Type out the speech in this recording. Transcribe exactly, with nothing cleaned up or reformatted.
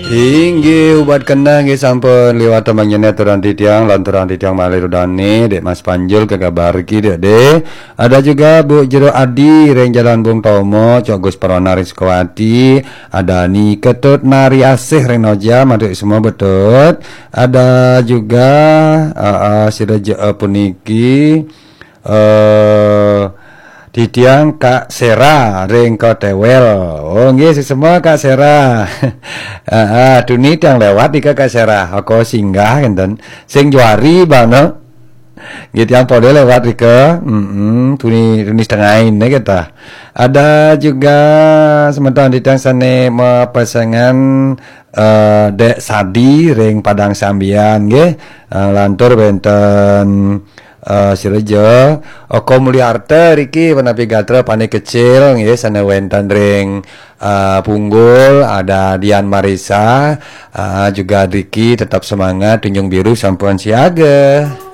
Inggih, ubat keneh nggih sampun liwat manyenet turang titiang, lan turang titiang malih rudane, Dek Mas Panjul kekabar ki, Dek, Dek. Ada juga Bu Jero Adi ring Jalan Bung Tomo, Cok Gus Perona ring Sukawati, ada Ni Ketut Nari Asih ring Noja, matur semua betul. Ada juga, eh, eh, sira je, eh, puniki, eh, titiang Kak Sera ring Kotewel. Oh, nggih, semua Kak Sera. Ah, ah, tuni tiang lewat ika Kak Sera. Aku singgah enten. Sing juari bana. Nggih, tiang pada lewat ika. Mm-mm, tuni, tuni setengah ini kita. Ada juga semeton titiang sane mapesengan, eh, Dek Sadi ring Padang Sambian, nggih. Eh, lantur wenten, eh, sira ja, Oko Mulyarta riki, punapi gatra Pane Kecil, nggih, sane wenten ring, eh, Punggul, ada Dian Marisa, eh, juga riki tetap semangat, Tunjung Biru sampun siaga.